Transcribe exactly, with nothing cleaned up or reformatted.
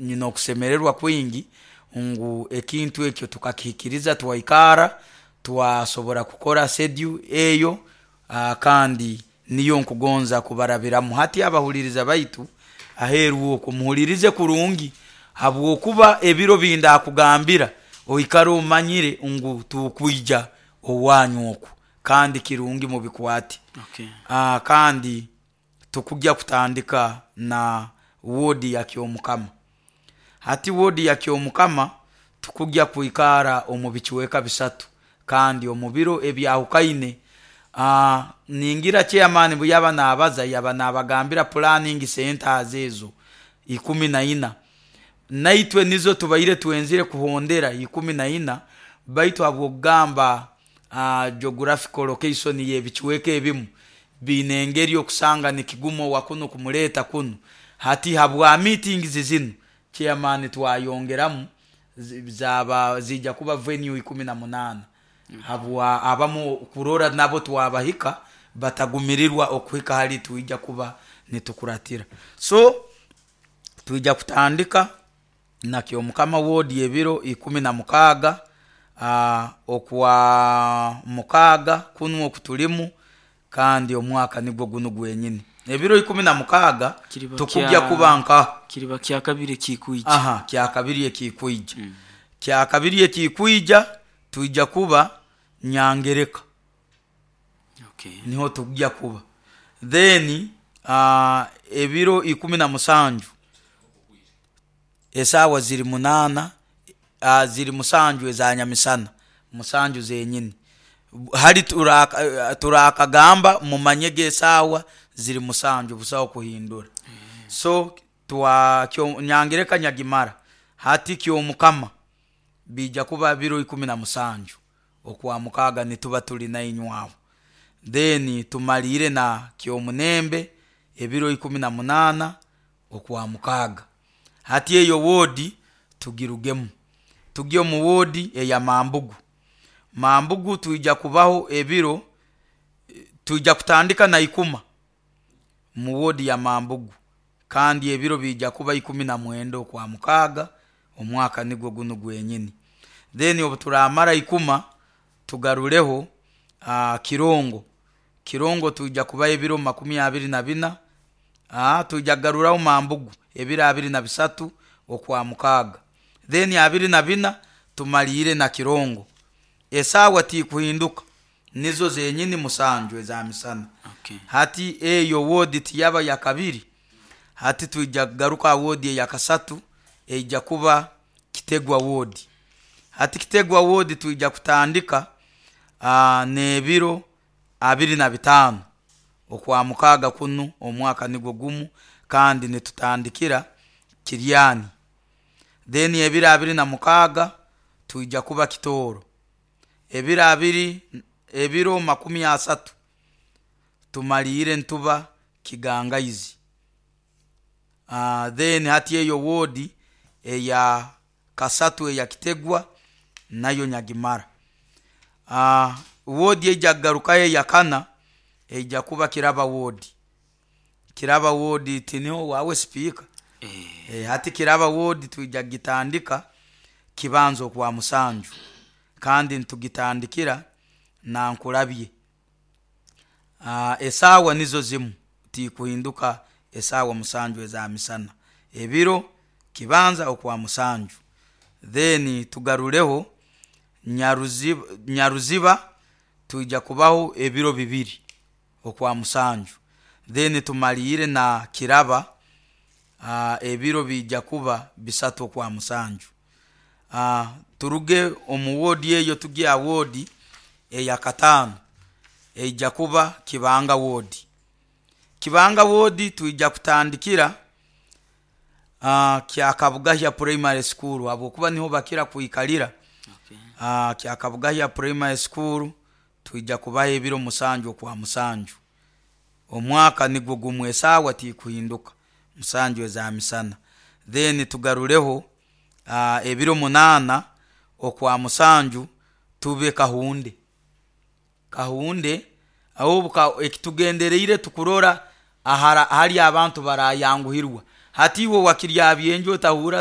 Nyine okusemererwa kwingi ngu ekintu ekyo tukakihikiriza, twaikara twasobora kukora schedule eyo, uh, kandi niyo nkugonza kubarabiramu hati. Abahuliriza baitu aheeru okwo, muhulirize kurungi, habwokuba ebiro bindakugambira oikare omanyire ngu tukwija owanyu okwo, kandi kirungi mubikwate. Okay. uh, kandi tukujja kutandika na woodi ya Kyomukama. Hati woodi ya Kyomukama tukujja kwikara omu bicweka bisatu kandi omu biro ebyahukaine. uh, ningira chairman bwe yaba nabaza, yaba nabagambira planning centers ezo ikumi na ina, naitwe nizo tubaire twenzire kuhondera ikumi na ina, baitu habwokugamba uh, geographical location y'ebicweka ebimu biine engeri okusanga nikiguma owa kunu kumuleeta kunu. Hati habwa meetings zinu, chairman, twayongeramu zaba zijja kuba venue ikumi na munaana, habwa abamu kurora nabo twabahika batagumirirwa okuhika hali twija kuba nitukuratira. So twija kutandika na Kyomukama ward ebiro ikumi na mukaaga uh, okwa mukaaga kunu okutulimu, kandi omwaka nigwo gunu gwenyini, ebiro ikumi na mukaaga. Kiriba tukujja kya- kuba nka kiriba kyakabiri ekikwija. Aha, kyakabiri ekikwija. mm. Kyakabiri ekikwija twija kuba Nyangereka. Okay. Niho tujja kuba. Then uh, ebiro ikumi na musanju, esaawa ziri munaana, uh, ziri musanju eza nyamisana, musanju zenyini. Hali turaka- turakagamba mumanyege esaawa ziri musanju, busaho kuhindura. So twa kyo, Nyangereka nyagimara. Hati Kyomukama bija kuba biro ikumi na musanju okwa mukaaga, nituba tuli nainywe aho. Then tumalire na Kyomunembe ebiro ikumi na munaana okwa mukaaga. Hati eyo woodi tugirugemu, tugye omu woodi eya Mambugu. Mambugu twija kubaho ebiro, twija kutandika na Ikuma mu woodi ya Mambugu, kandi ebiro bijja kuba ikumi na mwenda okwa mukaaga, omwaka nigwo gunu gwenyini. Then obu turamara Ikuma, tugarureho uh, Kirongo. Kirongo twija kubaho ebiro makumi abiri na bina. uh, twija kugaruraho Mambugu ebiro abiri na bisatu okwa mukaaga, then abiri na bina tumaliire na Kirongo. Esaawa tikuhinduka, nizo zenyini musanju eza misana. Okay. Hati eyo woodi tiyaba ya kabiri. Hati twija kugaruka woodi eya kasatu, eija kuba Kitegwa woodi. Hati Kitegwa woodi twija kutandika uh, n'ebiro abiri na bitaano okwa mukaaga kunu, omwaka nigwo gumu, kandi nitutandikira Kiryani. Then ebiro abiri na mukaaga twija kuba Kitooro. Ebiro abiri, ebiro makumi asatu tumaliire ntuba Kigangaizi. uh, then hati eyo woodi eya kasatu eya Kitegwa nayo nyagimara. uh, woodi eija kugarukayo eya kana eija kuba Kiraba woodi. Kiraba woodi tiniho wawe sipiika? Eh, e, hati Kiraba woodi twija kugitandika Kibanza okwa musanju, kandi nitugitandikira Nankulabye. uh, esaawa nizo zimu, tikuhinduka, esaawa musanju eza misana, ebiro Kibanza okwa musanju. Then tugarureho Nyaruziba. Nyaruziba twija kubaho ebiro bibiri okwa musanju. Then tumaliire na Kiraba, uh, ebiro bijja kuba bisatu okwa musanju. uh, turuge omu woodi eyo, tugye ha woodi eya kataano, eija kuba Kibanga woodi. Kibanga woodi twija kutandikira uh, Kyakabugahya Primary School, habwokuba niho bakira kwikalira. Okay. uh, Kyakabugahya Primary School twija kubaho ebiro musanju okwa musanju, omwaka nigwo gumwe, esaawa tikuhinduka, musanju eza misana. Then tugarureho uh, ebiro munaana okwa musanju tube Kahunde. Kahunde aho ekitugendereire tukurora ahara hali abantu barayanguhirwa. Hati iwe wakirya byenju otahura.